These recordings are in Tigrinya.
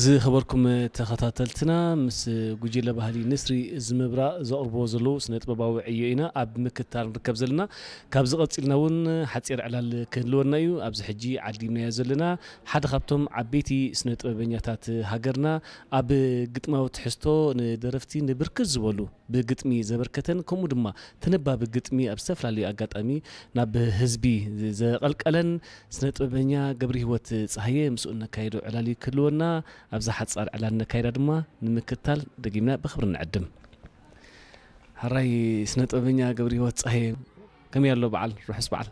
ዝኸበርኩም ተኸታተልትና፣ ምስ ጉጅለ ባህሊ ንስሪ ዝምብራቕ ዘቕርብዎ ዘለዉ ስነ ጥበባዊ ዕዮ ኢና ኣብ ምክታል ንርከብ ዘለና። ካብዚ ቀጺልና እውን ሓጺር ዕላል ክህልወና እዩ። ኣብዚ ሕጂ ዓዲምናዮ ዘለና ሓደ ካብቶም ዓበይቲ ስነ ጥበበኛታት ሃገርና፣ ኣብ ግጥማዊ ትሕዝቶ ንደረፍቲ ንብርክት ዝበሉ ብግጥሚ ዘበርከተን፣ ከምኡ ድማ ተነባቢ ግጥሚ ኣብ ዝተፈላለዩ ኣጋጣሚ ናብ ህዝቢ ዘቐልቀለን ስነ ጥበበኛ ገብረሂወት ጸሃየ ምስኡ ነካይዶ ዕላል ክህልወና፣ ኣብዛ ሓጻር ዕላል ነካይዳ ድማ ንምክታል ደጊምና ብኽብሪ ንዕድም። ሕራይ ስነ ጥበበኛ ገብረሂወት ጸሃየ፣ ከመይ ኣሎ በዓል? ርሑስ በዓል።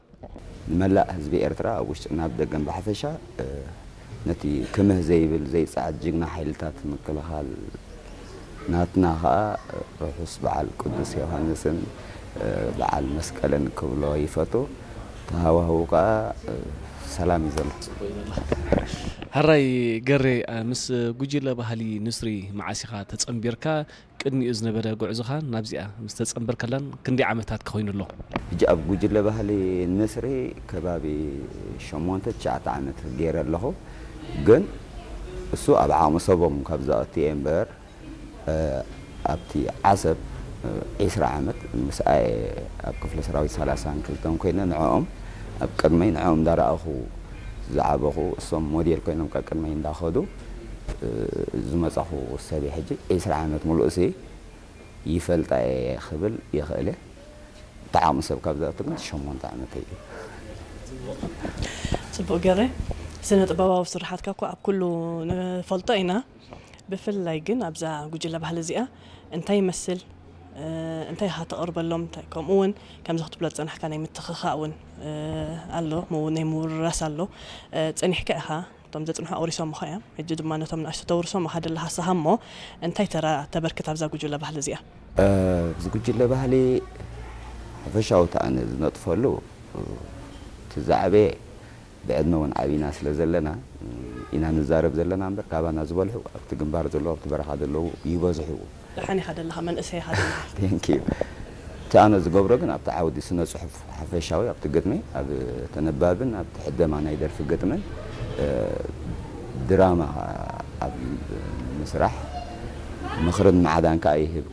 ንመላእ ህዝቢ ኤርትራ ኣብ ውሽጥን ኣብ ደገን ብሓፈሻ፣ እ፣ ነቲ ክምህ ዘይብል ዘይጸዓድ ጅግና ሓይልታት ምክልኻል ናትና ኸኣ ርሑስ በዓል ቅዱስ ዮሃንስን፣ እ፣ በዓል መስቀልን ክብሎ ይፈቱ። እቲ ሃዋህው ከኣ፣ እ፣ ሰላም እዩ ዘሎ። ሕራይ ገሬ፣ እ፣ ምስ ጉጅለ ባህሊ ንስሪ መዓስ ኢኻ ተጸንቢርካ? ቅድሚኡ ዝነበረ ጉዕዞኻ ናብዚኣ ምስ ተጸንበርከላን ክንደይ ዓመታት ክኾይኑ ኣሎ? ሕጂ ኣብ ጉጅለ ባህሊ ንስሪ ከባቢ ሸሞንተ ትሽዓተ ዓመት ገይረ ኣለኹ። ግን እሱ ኣብ ዓቕሚ ሰቦም ካብ ዝኣቱ እየ እምበር፣ እ፣ ኣብቲ ዓሰብ፣ እ፣ ዒስራ ዓመት ምስኣ እየ ኣብ ክፍለ ሰራዊት ሰላሳን ክልተን ኮይነ ንዕኦም ኣብ ቅድመይ ንዕኦም እንዳረኣኹ ዝዓበኹ፣ እሶም ሞዴል ኮይኖም ካብ ቅድመይ እንዳኸዱ፣ እ፣ ዝመጻኹ ሰብ እየ። ሕጂ ዒስራ ዓመት ሙሉእ እሲ ይፈልጣ እየ ክብል ይኽእል እየ። እቲ ዓቕሚ ሰብ ካብ ዝኣቱ ግን ሸሞንተ ዓመተይ እዩ። ጽቡቕ ገረ፣ ስነ ጥበባዊ ስራሓትካ እኮ ኣብ ኩሉ ንፈልጦ ኢና። ብፍላይ ግን ኣብዛ ጉጅለ ባህሊ እዚኣ እንታይ ይመስል፣ እ፣ እንታይ ኢኻ ተቕርበሎም፣ እንታይ፣ ከምኡ እውን ከምዚ ክትብሎ ዝጸናሕካ ናይ ምትኽኻእ እውን፣ እ፣ ኣሎ፣ ምው-፣ ናይ ምውርራስ ኣሎ። እ፣ ጸኒሕካ ኢኻ፣ እቶም ዘጽንሑ ኣውሪሶምኻ እዮም። ሕጂ ድማ ነቶም ንኣሽቱ ተውርሶም ኢኻ ደለኻ ንስኻ እሞ፣ እንታይ ተራ ተበርክት ኣብዛ ጉጅለ ባህሊ እዚኣ? እ፣ ኣብዚ ጉጅለ ባህሊ ሓፈሻዊ እቲ ኣነ ዝነጥፈሉ፣ እ፣ እቲ ዝዓበየ ብዕድመ እውን ዓቢና ስለ ዘለና ኢና ንዛረብ ዘለና እምበር፣ ካባና ዝበልሑ ኣብቲ ግንባር ዘለዉ፣ ኣብቲ በረኻ ዘለዉ ይበዝሑ። ደሓን ኢኻ ደለኻ፣ መንእሰይ ኢኻ ደለኻ። Thank you። እቲ ኣነ ዝገብሮ ግን ኣብቲ ዓውዲ ስነ ጽሑፍ ሓፈሻዊ፣ ኣብቲ ግጥሚ፣ ኣብ ተነባብን ኣብቲ ሕደማ ናይ ደርፊ ግጥምን፣ እ፣ ድራማ ኣብ ምስራሕ ምኽርን ማዕዳን ከኣ ይህብ።